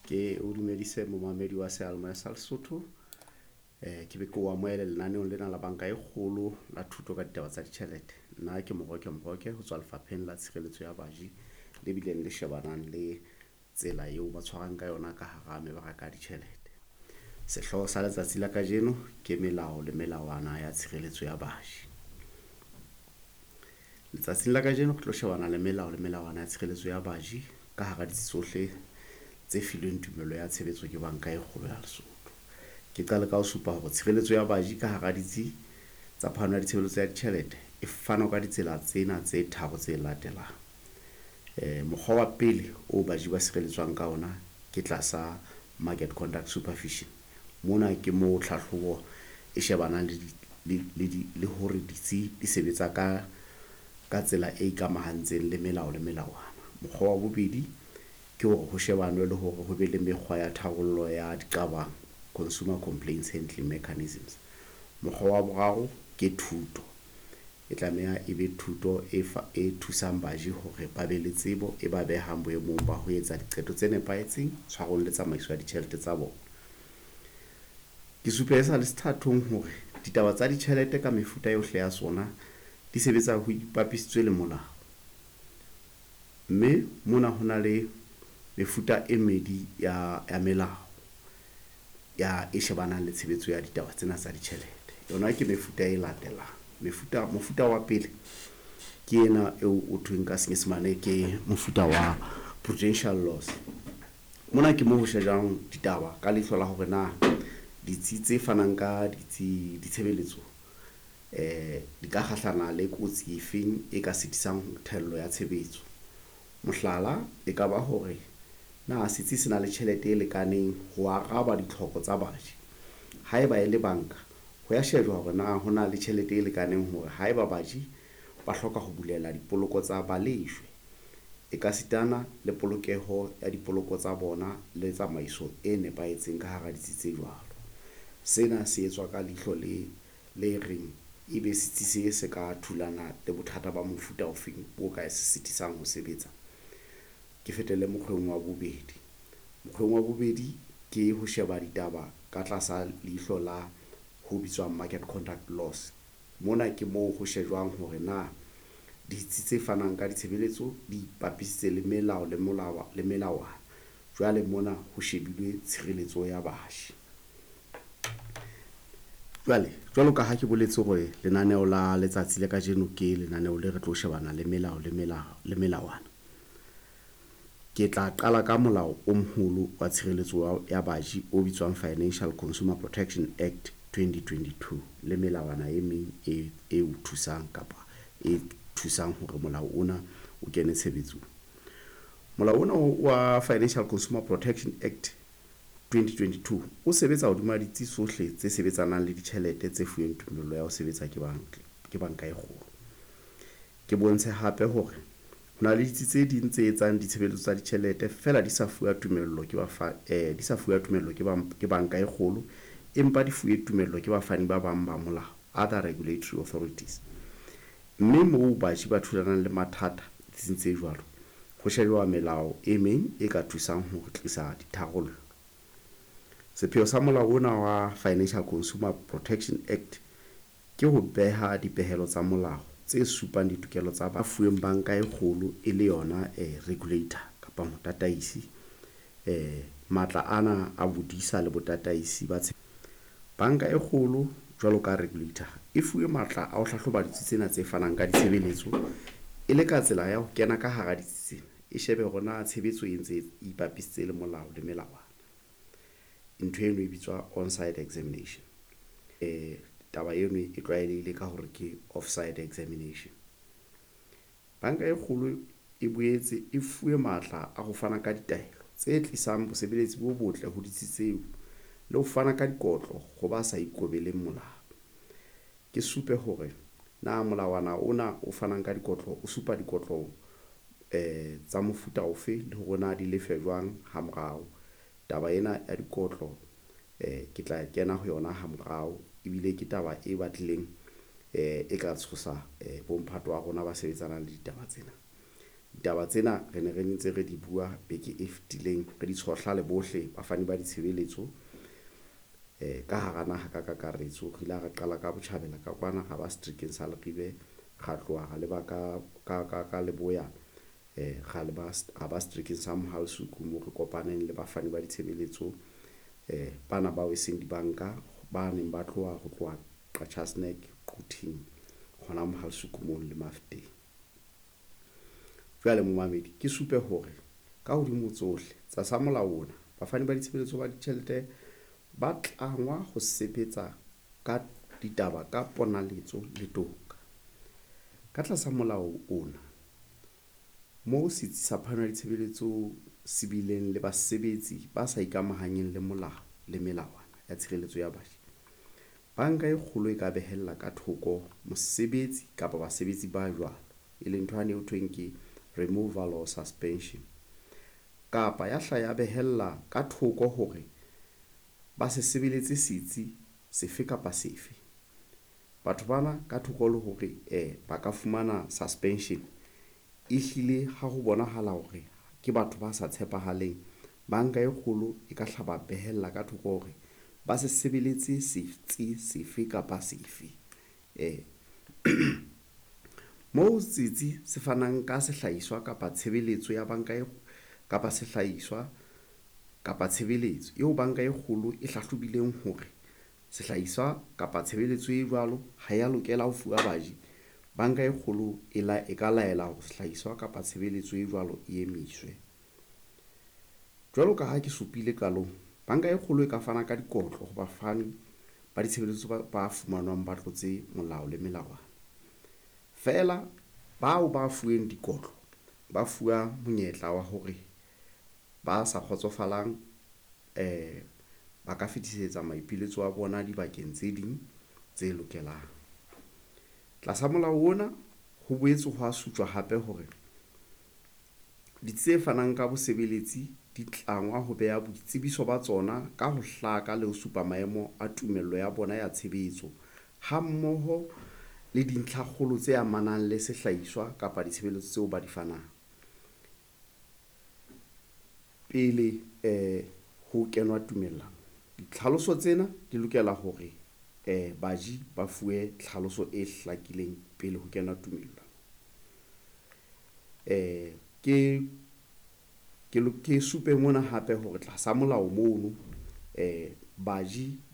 Ke o dumedise momamedi wa seyalemoya sa Lesotho. Ke be ke o amohele lenaneong lena la banka e kgolo la thuto ka ditaba tsa ditjhelete. Nna ke Moroke Moroke ho tswa Lefapheng la Tshireletso ya Baji le bileng le shebanang le tsela eo ba tshwarang ka yona ka hara mebaraka ya ditjhelete. Sehlooho sa letsatsi la kajeno ke melao le melawana ya tshireletso ya baji. Letsatsing la kajeno re tlo shebana le melao le melawana ya tshireletso ya baji ka hara ditsi tsohle tse filweng tumello ya tshebetso ke Banka e Kgolo ya Lesotho. Ke qale ka ho supa hore tshireletso ya baji ka hara ditsi tsa phano ya ditshebeletso ya ditjhelete e fana ka ditsela tsena tse tharo tse latelang. Mokgwa wa pele o baji ba sireletswang ka ona ke tlasa market conduct supervision. Mona ke moo tlhahlobo e shebanang le hore ditsi di sebetsa ka tsela e ikamahantseng le melao le melawana. Mokgwa wa bobedi ke hore ho shebanwe le hore ho be le mekgwa ya tharollo ya diqabang, consumer complaints handling mechanisms. Mokgwa wa boraro ke thuto. E tlameha e be thuto e thusang baji hore ba be le tsebo e ba behang boemong ba ho etsa diqeto tse nepahetseng tshwarong le tsamaiso ya ditjhelete tsa bona. Ke supe e sa le sethathong hore ditaba tsa ditjhelete ka mefuta yohle ya sona di sebetsa ho ipapisitswe le molao. Mme mona ho na le mefuta e mmedi ya melao ya e shebanang le tshebetso ya ditaba tsena tsa ditjhelete. Yona ke mefuta e latelang. Mofuta wa pele ke ena eo o thweng ka Senyesemane ke mofuta wa prudential laws. Mona ke mo ho shejwang ditaba ka leihlo la hore na ditsi tse fanang ka ditsi ditshebeletso di ka kgahlana le kotsi efeng e ka sitisang thello ya tshebetso. Mohlala e ka ba hore na setsi se na le tjhelete e lekaneng ho araba ditlhoko tsa baji. Haeba e le banka, ho ya shejwa hore na ho na le tjhelete e lekaneng hore haeba baji ba hloka ho bulela dipoloko tsa balejwe, e ka sitana le polokeho ya dipoloko tsa bona le tsamaiso e nepahetseng ka hara ditsi tse jwalo. Sena se etswa ka leihlo le reng ebe setsi se se ka thulana le bothata ba mofuta ofeng o ka se sitisang ho sebetsa. Ke fetele mokgweng wa bobedi. Mokgweng wa bobedi ke ho sheba ditaba ka tlasa leihlo la ho bitswang market conduct laws. Mona ke moo ho shejwang hore na ditsi tse fanang ka ditshebeletso di ipapisitse le melao le molao le melawana. Jwale mona ho shebilwe tshireletso ya baji. Jwale jwalo ka ha ke boletse hore lenaneo la letsatsi le kajeno ke lenaneo le re tlo shebana le melao le melao le melawana. Ke tla qala ka molao o moholo wa tshireletso ya baji o bitswang Financial Consumer Protection Act 2022 le melawana e meng e o thusang kapa e thusang hore molao ona o kene tshebetsong. Molao ona wa Financial Consumer Protection Act 2022 o sebetsa hodima ditsi tsohle tse sebetsanang le ditjhelete tse fuweng tumello ya ho sebetsa ke banka e kgolo. Ke bontshe hape hore ho na le ditsi tse ding tse etsang ditshebeletso tsa ditjhelete feela di sa fuwa tumello ke ba di sa fuwa tumello ke banka e kgolo, empa di fuwe tumello ke bafani ba bang ba molao, other regulatory authorities. Mme moo baji ba thulanang le mathata ditsing tse jwalo, ho shejwa melao e meng e ka thusang ho tlisa ditharollo. Sepheo sa molao ona wa Financial Consumer Protection Act ke ho beha dipehelo tsa molao tse supang ditokelo tsa ba fuweng banka e kgolo e le yona regulator kapa motataisi. Matla ana a bodisa le botataisi ba banka e kgolo jwalo ka regulator e fuwe matla a ho hlahloba ditsi tsena tse fanang ka ditshebeletso e le ka tsela ya ho kena ka hara ditsi tsena, e shebe hore na tshebetso e ntse e ipapisitse le molao le melawana. Ntho eno e bitswa on-site examination. Taba eno e tlwaelehile ka hore ke off-site examination. Banka e kgolo e boetse e fuwe matla a ho fana ka ditaelo tse tlisang bosebeletsi bo botle ho ditsi tseo le ho fana ka dikotlo ho ba sa ikobeleng molao. Ke supe hore na molawana ona o fanang ka dikotlo o supa dikotlo tsa mofuta ofe le hore na di lefe jwang ha morao. Taba ena ya dikotlo ke tla kena ho yona ha morao, ebile ke taba e batlileng e ka tshosa bomphato wa rona ba sebetsanang le ditaba tsena. Ditaba tsena re ne re ntse re di bua beke e fetileng, re di tshohla le bohle bafani ba ditshebeletso ka hara naha ka kakaretso. Re ile ra qala ka botjhabela ka kwana, ra ba seterekeng sa Leribe, ra tloha ra leba ka leboya, ra leba ra ba seterekeng sa Mohale's Hoek moo re kopaneng le bafani ba ditshebeletso bana bao e seng dibanka ba neng ba tloha ho tloha Qacha's Nek, Quthing hona Mohale's Hoek mono le Mafeteng. Jwale momamedi ke supe hore ka hodimo tsohle tlasa molao ona, bafani ba ditshebeletso ba ditjhelete ba tlangwa ho sebetsa ka ditaba ka ponaletso le toka. Ka tlasa molao ona, moo setsi sa phano ya ditshebeletso se bileng le basebetsi ba sa ikamahanyeng le molao le melawana ya tshireletso ya baji, banka e kgolo e ka behella ka thoko mosebetsi kapa basebetsi ba jwalo, e leng ntho yane eo thweng ke removal or suspension, kapa ya hla ya behella ka thoko hore ba se sebeletse setsi sefe kapa sefe. Batho bana ka thoko le hore ba ka fumana suspension, ehlile ha ho bonahala hore ke batho ba sa tshepahaleng, banka e kgolo e ka hla ba behella ka thoko hore ba se sebeletse setsi sefe kapa sefe. Moo setsi se fanang ka sehlahiswa kapa tshebeletso ya banka e kapa sehlahiswa kapa tshebeletso eo banka e kgolo e hlahlobileng hore sehlahiswa kapa tshebeletso e jwalo ha ya lokela ho fuwa baji, banka e kgolo e ka laela hore sehlahiswa kapa tshebeletso e jwalo e emiswe. Jwalo ka ha ke supile qalong, banka e kgolo e ka fana ka dikotlo ho bafani ba ditshebeletso ba fumanwang ba tlotse molao le melawana. Feela bao ba fuweng dikotlo ba fuwa monyetla wa hore ba sa kgotsofalang ba ka fetisetsa maipiletso a bona dibakeng tse ding tse lokelang. Tlasa molao ona ho boetse ho a sutjwa hape hore ditsi tse fanang ka bosebeletsi di tlangwa ho beha boitsebiso ba tsona ka ho hlaka le ho supa maemo a tumello ya bona ya tshebetso hammoho le dintlhakgolo tse amanang le sehlahiswa kapa ditshebeletso tseo ba di fanang pele ho kenwa tumellano. Ditlhaloso tsena di lokela hore baji ba fuwe tlhaloso e hlakileng pele ho kenwa tumellano. Ke supe mona hape hore tlasa molao mono baji.